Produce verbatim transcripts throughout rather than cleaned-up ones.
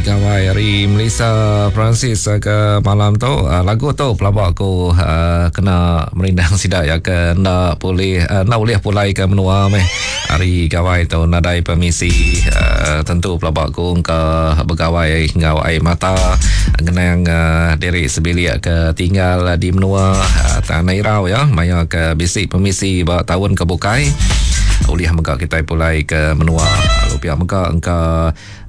Gawai ari Melissa Francis ke malam tu. Lagu tu pelaba aku kena merindang sida ya ke enda pulih enda ulih pulai ke menua meh hari gawai tu nadai permisi. Tentu pelaba aku engka begawai enggau ai mata ngenang diri sebilik ke tinggal di menua Tanah Irau ya maya ke bisi permisi ba taun ke bukai ulih mega kitai pulai ke menua. Lalu pia mega engka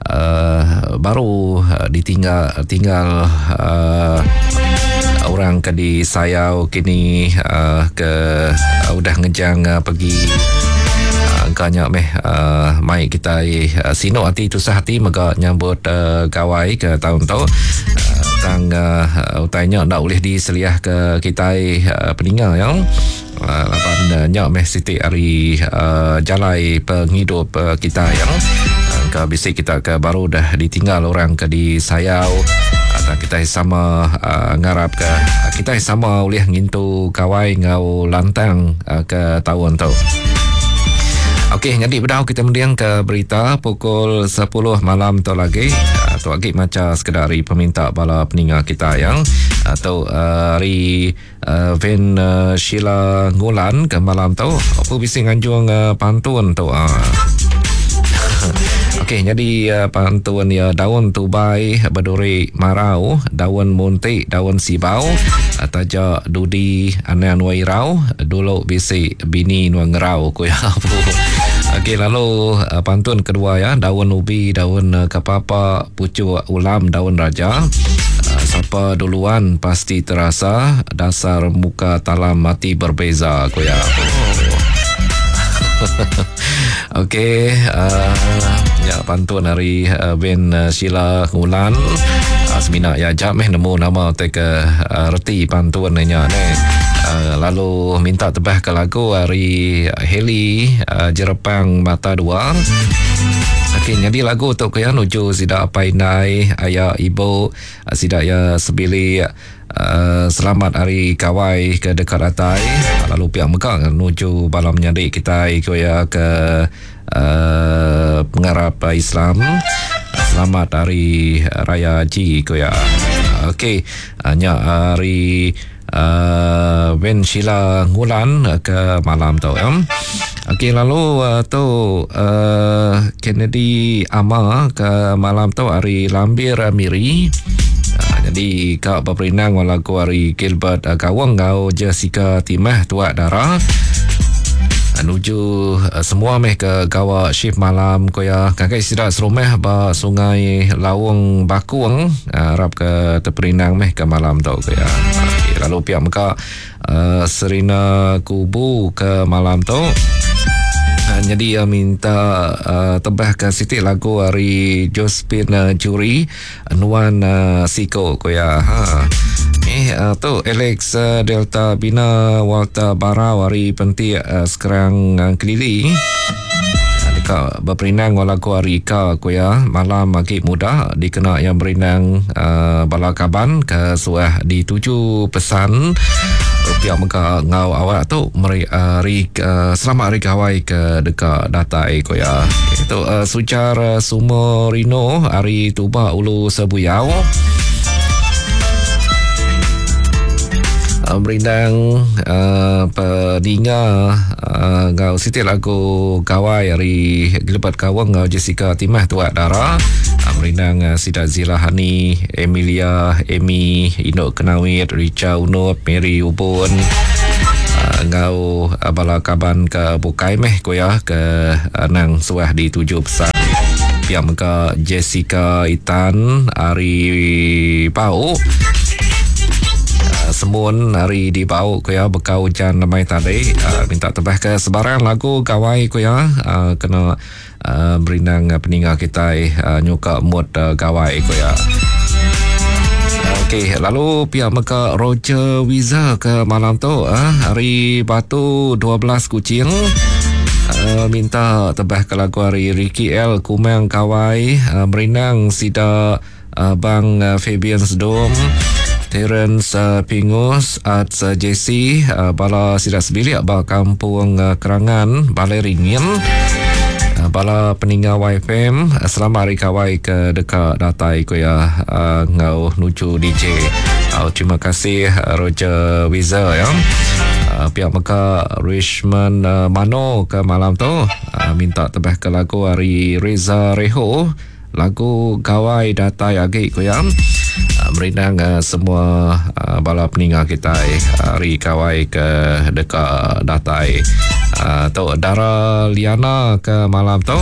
Uh, baru uh, ditinggal tinggal uh, orang ke disayau kini uh, ke uh, udah ngejang uh, pergi uh, engkanya meh uh, mai kita uh, sinu hati tusah hati mega nyambut uh, gawai ke tahun tu. Uh, tang uh, utainya ndak boleh diseliah ke kita uh, peninga ya. Uh, laban uh, nyak meh siti hari uh, jalai penghidup uh, kita ya. Ke bisi kita ke baru dah ditinggal orang ke disayau atau kita sama uh, ngarap ke kita sama ulih ngintu gawai ngau lantang uh, ke tahun tu. Okey, jadi bedau kita mendiang ke berita pukul sepuluh malam tu lagi. Tu lagi maca sekedar hari peminta bala peninga kita yang atau uh, hari uh, Van uh, Sheila Ngulan ke malam tu. Apa bisi nganjung uh, pantun tu ah. Okey, jadi uh, pantun ya daun tubai berduri marau, daun muntik, daun sibau, taja dudi anan wairau, dulu bisi bini nuang ngerau ku ya. Okey, lalu uh, pantun kedua ya, daun ubi, daun uh, kepapa, pucuk ulam, daun raja. Uh, siapa duluan pasti terasa, dasar muka talam mati berbeza ku ya. Oh. Okey, uh, ya pantun hari uh, Ben uh, Sheila Ngulan. Uh, semina ya jap meh nemu nama te ke uh, reti pantun nya ne. Uh, lalu minta tebah ke lagu hari Heli uh, Jerepang Mata Dua. Okey, jadi lagu tu ke ya nuju sida apai indai, ayah ibu, sida ya sebilik. Uh, selamat hari kawai ke dekat atai. Lalu pihak mega nuju bala menyadi kita ikut ya ke uh, pengarap Islam. Selamat hari Raya Haji ko ya. Okey, nya hari uh, Ben Sheila Ngulan ke malam tu ya. Okey, lalu uh, tu uh, Kennedy Ama ke malam tu hari Lambir Miri. Jadi kak berperinang lagu hari Gilbert uh, Gawang ngau Jessica Timah Tuak Dara. Menuju uh, semua meh ke gawa shift malam ko ya. Kakek sida serumah ba Sungai Lawang Bakung uh, harap ke terperinang meh ke malam tu ko ya. Okay, lalu pihak meka uh, Serina Kubu ke malam tu. Jadi uh, minta uh, tebah ke siti lagu hari Josephine uh, Juri Nuan uh, Siko ko ya. Ha. Eh uh, tu Alex uh, Delta Bina Walter Barau hari pentik uh, sekarang uh, Kelili. Dekat berperinang lagu hari Ika ko ya. Malam agi muda dikena yang berinang uh, bala kaban ke suah dituju pesan rupiah mega ngau awak tu meri hari uh, selamat hari gawai ke dekat datai ko ya. Itu uh, Sujar uh, Sumorino hari Tuba Ulu Sebuyau. Uh, merindang uh, peninga uh, ngau siti lagu gawai hari Gilbert Kawang ngau Jessica Timah Tuak Dara. Uh, merindang uh, Sida Zila Hani, Emilia, Amy, Inok Kenawit, Richa Unop, Mary Ubun. Uh, ngau uh, bala kaban ke bukai meh ko ya ke uh, nang suah dituju pesan. Pihak mega Jessica Itan hari Pau. Semun hari di bau ko ya bekau hujan lemai tadi uh, minta tebah ke sebarang lagu gawai ko ya uh, kena uh, berindang uh, peninga kita uh, nyuka mood uh, gawai ko ya. Okey, lalu pihak mega Roger Wiza ke malam tu uh, hari Batu dua belas Kuching. Uh, minta tebah ke lagu hari Ricky L Kumang Kawai uh, merindang sida uh, Bang uh, Fabian Sedom Terence uh, Pingus Arts uh, J C uh, bala sida sebilik ba kampung uh, Kerangan Balai Ringin. Bala peninggal Y F M selamat hari kawai ke dekat datai ku ya uh, ngau nuju D J. Uh, terima kasih Roger Wizer ya. Uh, pihak meka Richmond uh, Mano ke malam tu uh, minta tebah ke lagu hari Reza Reho, lagu Gawai Datai Agi ku ya. Uh, merindang uh, semua uh, bala peninggal kita hari kawai ke dekat datai. Uh, tu Dara Liana ke malam tu.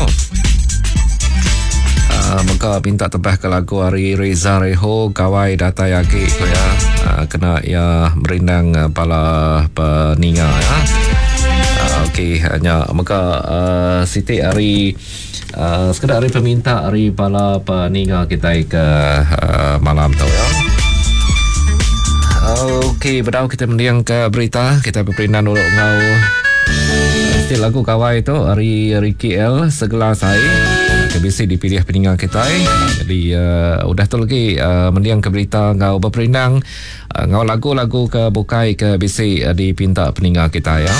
Uh, maka minta tebah ke lagu hari Reza Reho Gawai Datai Agi ku ya. Uh, kena ya merindang uh, bala peninga ya. Uh, okey hanya maka uh, Siti hari Uh, sekedar hari peminta hari bala peninga kita ke uh, malam tu ya. Okey, bedau kita mendiang ke berita, kita berperindan dulu ngau still lagu kawai tu hari Ricky L Segelas Air ke bisi dipilih peninga kita. Jadi uh, udah tu lagi uh, mendiang ke berita ngau berperindang uh, ngau lagu-lagu ke bukai ke bisi uh, dipinta peninga kita ya.